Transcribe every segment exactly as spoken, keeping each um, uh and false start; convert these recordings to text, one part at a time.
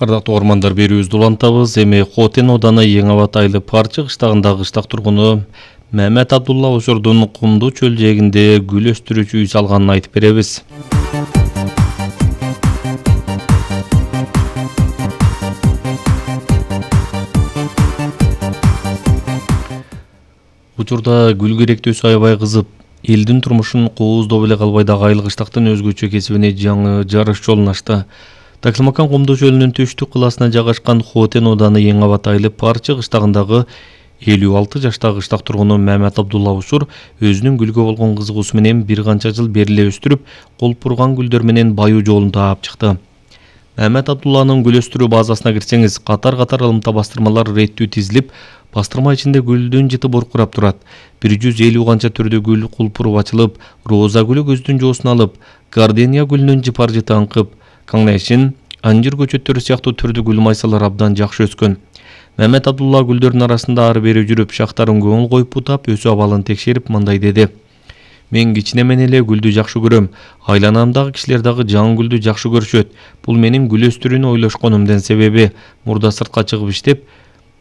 Ардактуу ормандар берүүбүздү улантабыз. Эми Хотен Оданы Эң Абат Айлы Парчы кыштагындагы кыштак тургуну Мамет Абдулла Усурдун Кумду чөл жээгинде гүл өстүрүүчү үй салганын айтып беребиз. Учурда гүл керектөөсү аябай кызып, элдин турмушун кооздоо эле калбай дагы айыл кыштактын өзгөчө кесибине жаңы жарыш жолун ачты. Таксымакан Кумду чөлүнүн түштүк кыласына жайгашкан Хотен Оданы Эң Абат Айлы Парчы кыштагындагы элүү алты жаштагы кыштак тургуну Мамет Абдулла Усур өзүнүн гүлгө болгон кызыгуусу менен бир канча жыл бери эле өстүрүп, колпурган гүлдөр менен баюу жолун таап чыкты. Мамет Абдулланын гүл өстүрүү базасына кирсеңиз, катар-катар ылымта бастырмалар реттүү тизилип, бастырма ичинде гүлдүн жыты буркурап турат. бир жүз элүү канча түрдүү гүл кулпуруп ачылып, роза гүлү көздүн жоосун алып, гардения гүлүнүн жыпар жыты аңкып, каңнайшин, анжыр көчөттөрү сыяктуу түрдүү гүл майсалар абдан жакшы өскөн. Мамет Абдулла гүлдөрдүн арасында ары бери жүрүп, шактарын көңүл коюп бутап, өсүү абалын текшерип мындай деди: "Мен кичинемен эле гүлдү жакшы көрөм. Айланамдагы кишилер дагы жаңы гүлдү жакшы көрүшөт. Бул менин гүл өстүрүүнү ойлошконумдун себеби. Мурда сыртка чыгып иштеп,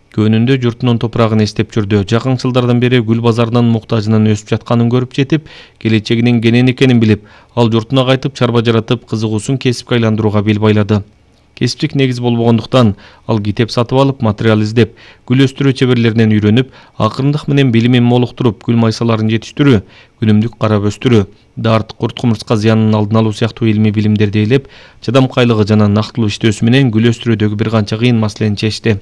көнүндө журтунун топурагын эстеп жүрдү. Жакын жылдардан бери гүл базарынын муктажынын өсүп жатканын көрүп жетип, келечегинин кенен экенин билип, ал журтуна кайтып чарба жаратып, кызыгуусун кесипке айландырууга бел байлады. Кесиптик негиз болбогондуктан ал китеп сатып алып, материал издеп, гүл өстүрүү чеберлеринен үйрөнүп, акырындык менен билимин молуктуруп, гүл майсаларын жетиштирүү, күнүмдүк карап өстүрүү, дарт, курт кумурска зыянын алдын алуу сыяктуу илимий билимдерди ээлеп, чыдамкайлыгы жана нактылуу иштөөсү менен гүл өстүрүүдөгү бир канча кыйын маселени чечти.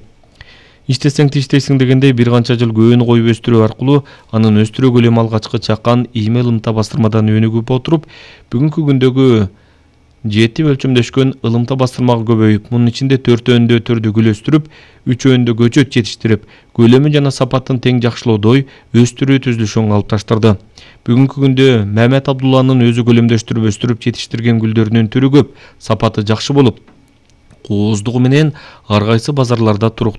Иштесең тиштейсиң дегендей бир канча жыл көөнү коюп өстүрүү аркылуу анын өстүрүү көлөмү алгачкы чакан ийме ылымта бастырмадан өнүгүп отуруп, бүгүнкү күндөгү жети өлчөмдөшкөн ылымта бастырмага көбөйүп, мунун ичинде төртөөндө түрдүү гүл өстүрүп, үчөөндө көчөт жетиштирип, көлөмү жана сапатын тең жакшылоодой өстүрүү түзүлүшүн калыпташтырды. Бүгүнкү күндө Мамет Абдулланын өзү көлөмдөштүрүп өстүрүп жетиштирген гүлдөрүнүн түрү көп, сапаты жакшы болуп, кооздугу менен ар кайсы базарларда туруктуу